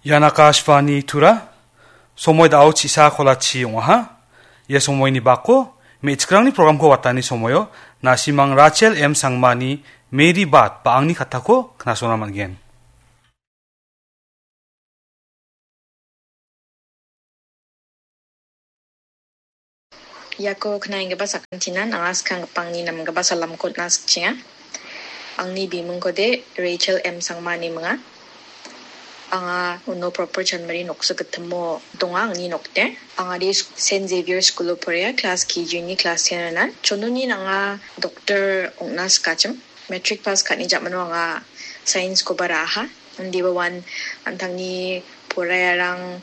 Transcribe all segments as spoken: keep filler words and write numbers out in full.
Ian Akashvani Tura, somoi da·o chisa kolachi ong·aha. Ia somoini bako, me·chikrangni programko watani somoio, nasimang Rachel M Sangmani Mary Bat ba angni katako knasona man·gen. Iako knaienggipa sakantinan anga skanggipa angni namgipa salamko on·a sikchenga. Angni bimingkode Rachel M Sangma ine minga. Anga uno Proper Chanmari noksa gitimo donga angni nokde. Anga de Saint Xavier School-o porea, class K G ni class ten-ona. Chononi nanga doctor ong·na sikachim. Matric pass ka·ani jamano anga science-koba ra·aha. Indiba uan an·tangni poraiarang,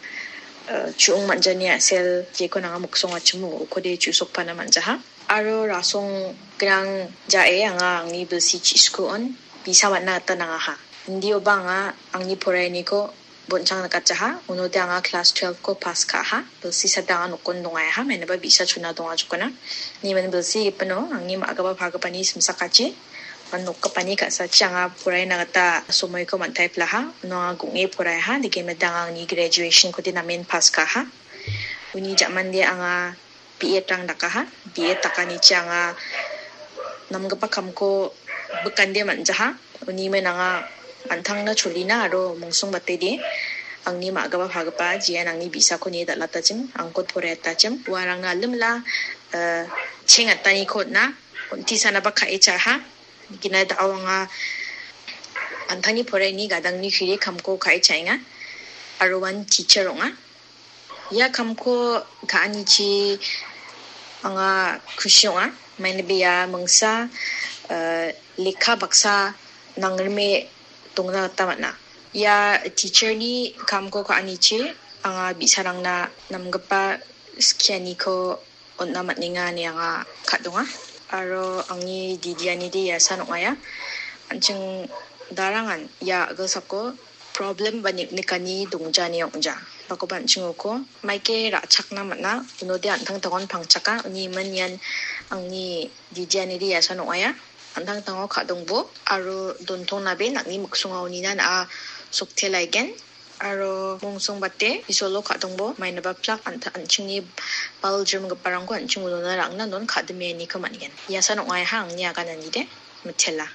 eh, chu·ong man·jani a·sel jeko nanga miksongachimo ukode chu·sokpana man·jaha. Aro rasong grang ja·e anga angni bilsi chi·sku on bisa man·na gita nangaha. Indioba anga angni poraianiko bon·chang nikatjaha, unode anga class twelve-ko pass ka·aha, bilsi sada anga nokon dongaha, mainiba bi·sa chona donga jokona. Niman bilsi gipino angni ma·gipa pagipani simsakachi, uan nokgipani ka·sachi anga poraina gita somoiko man·taiplaha, uno anga gong·e poraiaha, dikemida anga angni graduation-kode namen pass ka·aha. Uni ja·mande anga B Ed-rang dakaha. B Ed dakanichi anga namgipa kamko bikande man·jaha. Uni men anga an·tangna cholina aro mungsong batede angni ma·gipa pagipa jean angni bisako nie dal·atachim, angkot poraiatachim. Uarangna alimla, eh, cheng ataniko on·a, on·tisanaba ka·e cha·aha. Gina da·o anga an·tangni poraini gadangni kiri kamko ka·e cha·enga. Aro uan teacher ong·a. Ia kamko ka·anichi anga kusi ong·a. Maina bia mingsa, eh, lekka baksa nangrime dongna gita man·a. Ia teacher-ni kamko ka·anichi anga bi·sarangna namgipa skianiko on·na man·enga ine anga ka·donga. Aro angni didianide iasan ong·aia. An·ching darangan ia a·gilsako problem ba nik-, nikani dongjani ong·ja. Bakoba an·ching uko maike ra·chakna man·a. Unode an·tangtangon pangchaka. Uni iman ian angni didianide iasan ong·aia. An·tangtango ka·dongbo aro dontongnabe nang·ni miksonga unina na·a soktelaigen. Aro mongsongbate Isolo ka·dongbo, mainaba plak anta an·chingni baljrimgiparangko an·ching ulona ra·angna non ka·dimianiko man·gen. Iasan ong·aiha angni agananide, mitela.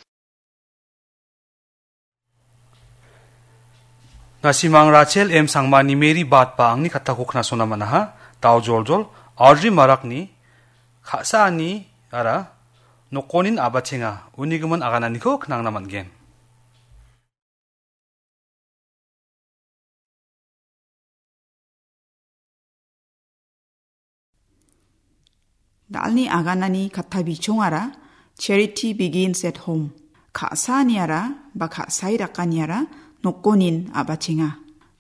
Nasimang Rachel M Sangmani Mary Bat ba angni katako knasona man·aha, dao joljol, Audrey Marakni ka·saani ara nokonin abachenga, unigimin agananiko knangna man·gen. Dalni aganani katta bichongara Charity Begins at Home. Ka·saaniara ba ka·sai dakaniara nokonin abachenga.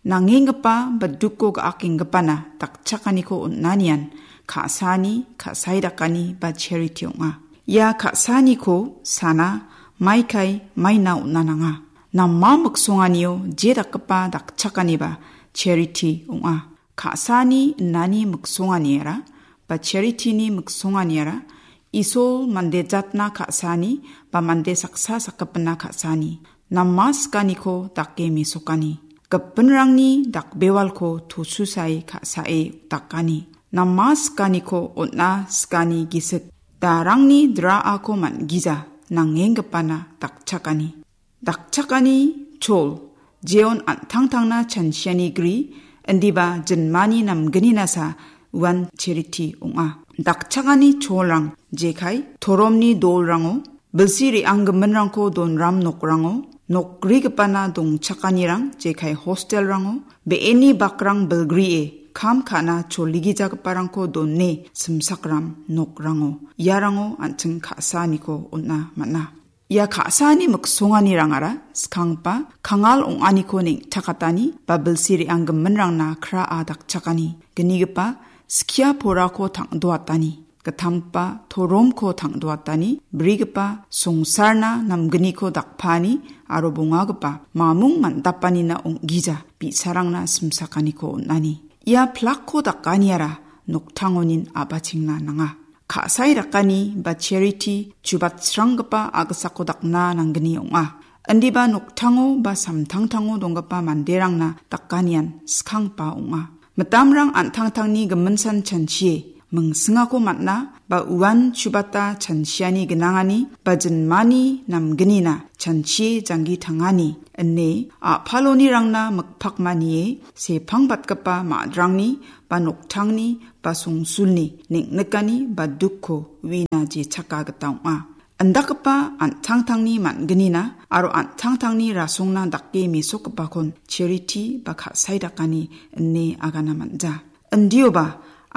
Nangenggipa ba duko ga·akenggipana dakchakaniko on·anian ka·saani, ka·sai dakani ba charity ong·a. Ia ka·saaniko sana maikai maina on·a nanga. Nama miksonganio je dakgipa dakchakaniba charity ong·a. Ka·saani innani miksonganiara ba charity-ni miksonganiara Isol mande jatna ka·saani ba mande saksa sakgipina ka·saani, nama sikaniko dake mesokani, gipinrangni dakbewalko tosusae ka·sae dakani, nama sikaniko on·a sikani gisik, darangni dra·ako man·gija nangenggipana dakchakani. Dakchakani chol, jeon an·tangtangna chansiani gri, indiba jinmani namgni nasa uan charity ong·a. Dakchakani cholrang jekai toromni dolrango, bilsi re·anggiminrangko donram nokrango, nokgrigipana dongchakanirang jekai hostelrango, be·eni bakrang bilgrie kam ka·na choligijagiparangko done simsakram nokrango, iarango an·ching ka·saaniko on·a man·a. Ia ka·saani miksonganirangara skanggipa kangal ong·aniko neng·takatani ba bilsi re·anggiminrangna kra·a dakchakani, gnigipa skia porako tang·doatani, gittamgipa toromko tang·doatani, brigipa songsarna namgniko dakpaani aro bongagipa mamung man·dapanina ong·gija bi·sarangna simsakaniko on·ani. Ia plakko dakaniara noktangonin a·bachengna nanga. Ka·sai dakani ba charity chubatsranggipa a·gisako dakna nanggni ong·a. Indiba noktango ba samtangtango donggipa manderangna dakanian skanggipa ong·a. Mitamrang an·tangtangni giminsan chanchie mingsingako man·a ba uan chubata chanchiani gnangani ba jinmani namgnina chanchie janggi tangani ine a·palonirangna mikpakmanie sepangbatgipa madrangni ba noktangni ba songsulni neng·nikani ba dukko uina jechaka gita ong·a. Indakgipa an·tangtangni man·gnina aro an·tangtangni rasongna dake mesokgipakon chariti ba ka·sai dakani ine agana man·ja. Indioba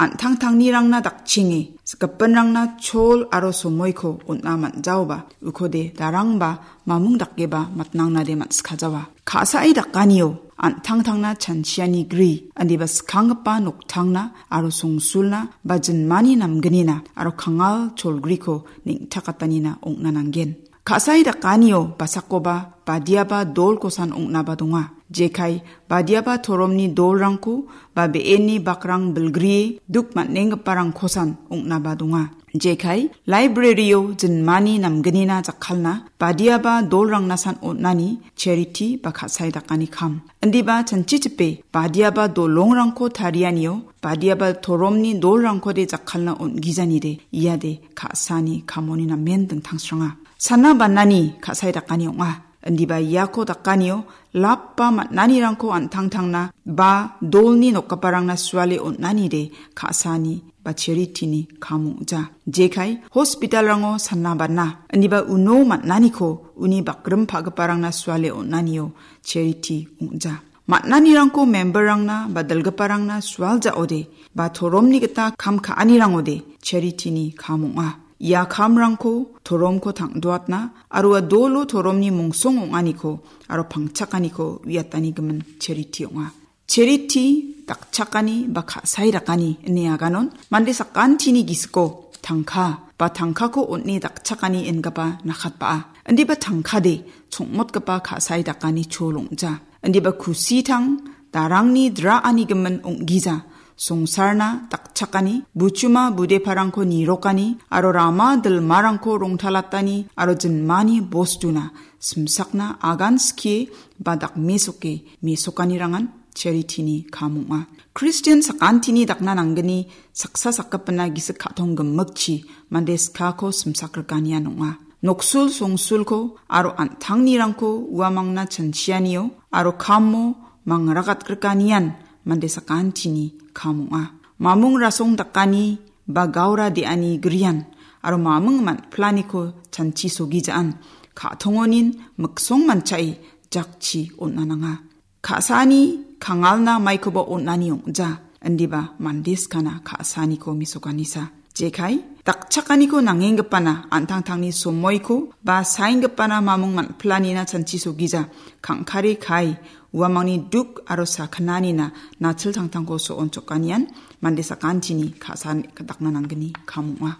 an·tangtangnirangna dakchenge gipinrangna chol aro somoiko on·a man·jaoba ukode darangba mamung dakeba matnangnade man·sikajawa. Ka·sai dakanio an·tangtangna chanchiani gri, indiba skanggipa noktangna aro songsulna ba jinmani namgnina aro kangal cholgriko neng·takatanina ong·na nanggen. Ka·sai dakanio basakoba badiaba dolkosan ong·naba donga. Jekai badiaba toromni dolrangko ba be·eni bakrang bilgrie duk man·enggiparangkosan ong·naba donga. Jekai library-o jinmani namgnina jakkalna badiaba dolrangnasan on·ani chariti ba ka·sai dakani kam. Indiba chanchichipe badiaba dolongrangko tarianio badiaba toromni dolrangkode jakkalna on·gijanide iade ka·sani kamoni namen dingtangsranga. Sana banani ka·sai dakani ong·a. Indiba iako dakanio lap ba man·anirangko an·tangtangna ba dolni nokgiparangna suale on·anide ka·sani ba charitini kam ong·ja. Jekai hospitalrango sana bana, indiba uno man·aniko uni bakrim pa·giparangna suale on·anio chariti ong·ja. Man·anirangko memberrangna ba dilgiparangna sualjaode ba toromni gita kam ka·anirangode charitini kam ong·a. Ia kamrangko toromko tang·doatna aro ua dolo toromni mongsong ong·aniko aro pangchakaniko uiatani gimin chariti ong·a. Chariti dakchakani ba ka·sai dakani ine aganon mande sakantini gisiko tangka ba tangkako on·e dakchakani ingipa nakatba·a. Indiba tangkade chongmotgipa ka·sai dakani chol ong·ja. Indiba kusitang darangni dra·ani gimin ong·gija. Songsarna dakchakani, buchuma budeparangko nirokani, aro rama dilmarangko rongtalatani, aro jinmani bostuna simsakna agan skie ba dakmesoke mesokanirangan charitini kam ong·a. Kristian sakantini dakna nanggni saksa sakgipina gisik ka·tong gimikchi mande skako simsakrikanian ong·a. Noksul songsulko aro an·tangnirangko uamangna chanchianio aro kamo mangrakatgrikanian mande sakantini kam ong·a. Mamung rasong dakani ba gaura de·ani grian aro mamung man·planiko chanchi sogijaan ka·tongonin miksong manchae jakchi on·a nanga. Ka·sani kangalna maikoba on·ani ong·ja, indiba mande skana ka·saniko mesokanisa. Jekai, dakchakaniko nangenggipana an·tangtangni somoiko ba saenggipana mamung man·planina chanchi sogija, kangkare kai, uamangni duk aro sakgnanina natil tangtangko so·on chokanian mande sakantini ka·san dakna nanggni kam ong·a.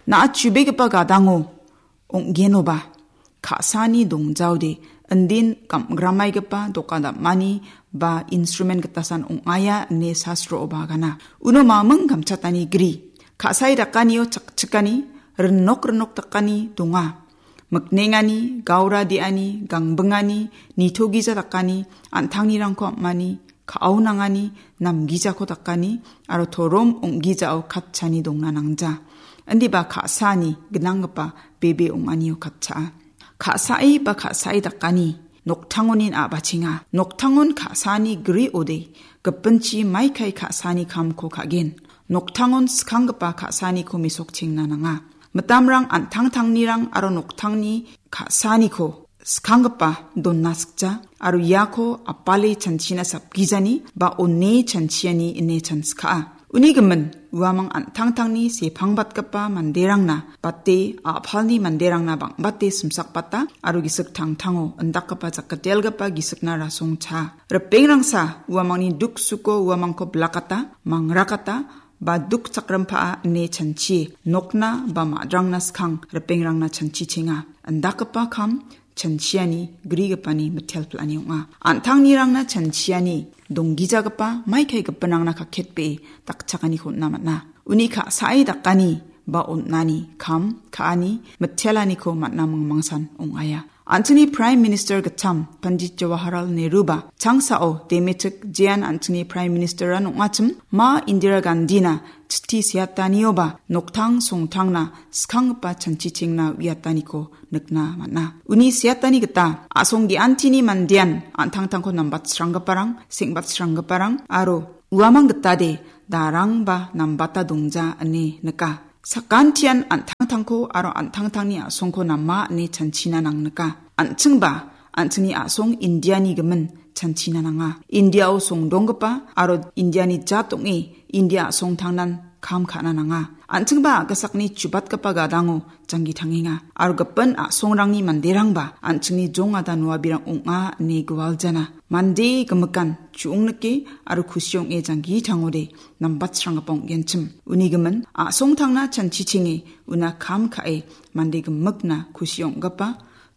Na·a chubegipa gadango ong·genoba, ka·sani dongjaode, indin gam-, gramaigipa doka dam·ani ba instrumen gitasan ong·aia ine sastrooba gana. Uno maming gamchatani gri. Ka·sai dakanio chakchikani, rinok rinok dakani donga. Miknengani, gaura de·ani, gangbingani, nitogija dakani, an·tangnirangko am·ani, ka·aonangani, namgijako dakani, aro torom ong·gijao katchani dongna nangja. Indiba ka·sani gnanggipa bebe ong·anio katchaa. Ka·sai ba ka·sai dakani, noktangonin a·bachenga. Noktangon ka·sani gri ode, gipinchi maikai ka·sani kamko ka·gen. Noktangon skanggipa ka·saniko mesokchengna nanga. Mitamrang an·tangtangnirang aro noktangni ka·saniko skanggipa donna sikja, aro iako apale chanchina sapgijani ba one chanchiani ine chanskaa. Uni gimin, uamang an·tangtangni sepangbatgipa manderangna bate a·palni manderangna bang·bate simsakbata aro gisik tangtango indakgipa jakgitelgipa gisikna rasongcha. Ripengrangsa uamangni duk suko uamangko bilakata, mangrakata, ba duk chakrimpaa ine chanchie nokna ba madrangna skang ripengrangna chanchichenga. Indakgipa kam chanchiani grigipani mitel pil·ani ong·a. An·tangnirangna chanchiani donggijagipa maikai gipinrangna kaketbee dakchakaniko on·na man·a. Uni ka·sai dakani ba on·ani kam ka·ani mitelaniko man·a mingmangsan ong·aia. An·chingni Prime Minister gittam Pandit Jawaharlal Nehruba changsao demetik jean an·chingni Prime Minister-an ong·achim ma Indira Gandhina chitti seatanioba noktang songtangna skanggipa chanchichengna uiataniko nikna man·a. Uni seatani gita a·song ge·antini mandean an·tangtangko nambatsranggiparang, seng·batsranggiparang aro uamang gitade darangba nambata dongja ine nika. Sakantian an·tangtangko aro an·tangtangni a·songko nama ine chanchina nang nika. An·chingba an·chingni a·song Indiani gimin chanchina nanga. Indiao songdonggipa aro Indiani jat ong·e India a·songtangnan kam ka·na nanga. An·chingba a·gasakni chubatgipa gadango janggi tangenga. Aro gipin a·songrangni manderangba an·chingni jongada noabirang ong·a ine gualjana. Mande gimikan chu·ongnike aro kusi ong·e janggi tangode nambatsranggipa ong·genchim. Uni gimin a·songtangna chanchichenge una kam ka·e mande gimikna kusi ong·gipa,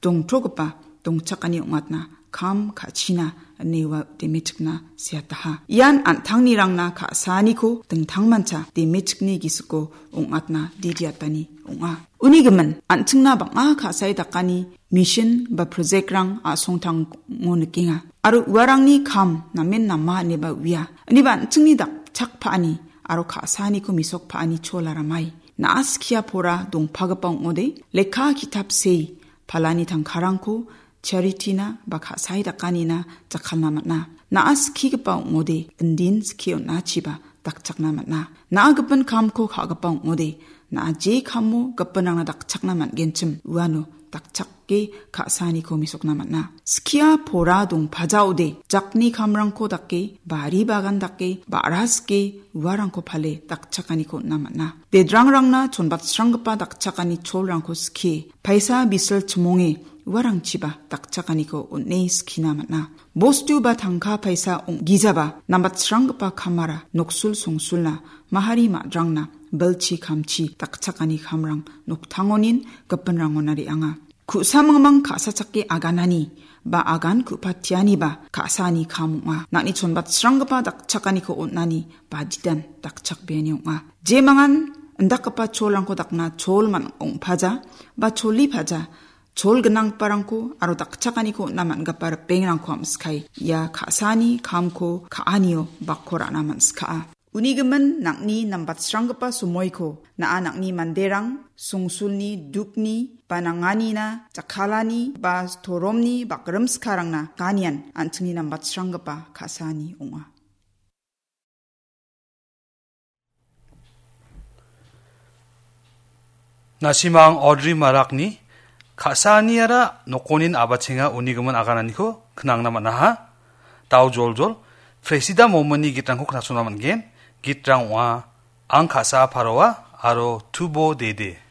dongtogipa, dongchakani ong·atna kam ka·china ine ua demetikna seataha. Ian an·tangnirangna ka·saaniko dingtangmancha demetikni gisiko ong·atna didiatani ong·a. Uni gimin, an·chingna bang·a ka·sae dakani mission ba project-rang a·songtango nikenga. Aro uarangni kam namen nama ineba uia. Ineba an·chingni dakchakpaani aro ka·saaniko mesokpaani chola ramai. Na·a skia pora dongpagipa ong·ode, lekka ki·tap sei palani tangkarangko charity-na ba ka·sae dakanina jakkalna man·a. Na·a skigipa ong·ode, indin skie on·achiba dakchakna man·a. Na·a gipin kamko ka·gipa ong·ode, na·a je kamo gipinrangna dakchakna man·genchim uano dakchake ka·saaniko mesokna man·a. Skia pora dongpajaode, jakni kamrangko dake, bari bagan dake, ba·ra sike, uarangko pale dakchakaniko on·na man·a. Dedrangrangna chonbatsranggipa dakchakani cholrangko skie, paisa bisil chimonge uarangchiba dakchakaniko on·e skina man·a. Bostu ba tangka paisa ong·gijaba nambatsranggipa kamara noksul songsulna, mahari madrangna, bilchi kamchi dakchakani kamrang noktangonin gipinrangona re·anga. Ku·samangmang ka·sachake aganani ba agan ku·patianiba ka·saani kam ong·a. Nang·ni chonbatsranggipa dakchakaniko on·ani badidan dakchakbeani ong·a. Jemangan indakgipa cholrangko dakna chol man ong·paja ba cholipaja, chol gnanggiparangko aro dakchakaniko on·na man·gipa ripengrangko am·sikae ia ka·saani kamko ka·anio bakko ra·na man·skaa. Uni gimin nang·ni nambatsranggipa somoiko na·a nang·ni manderang songsulni dukni ba nanganina jakkalani ba toromni bakrimskarangna ganian an·chingni nambatsranggipa ka·saani ong·a. Nasimang Audrey Marakni ka·saaniara nokonin abachenga uni gimin agananiko knangna man·aha. Dao joljol, Presida Momini gitrangko knasona man·gen. Gitrang ong·a, Ang ka·sa paroa aro Tubo Dede.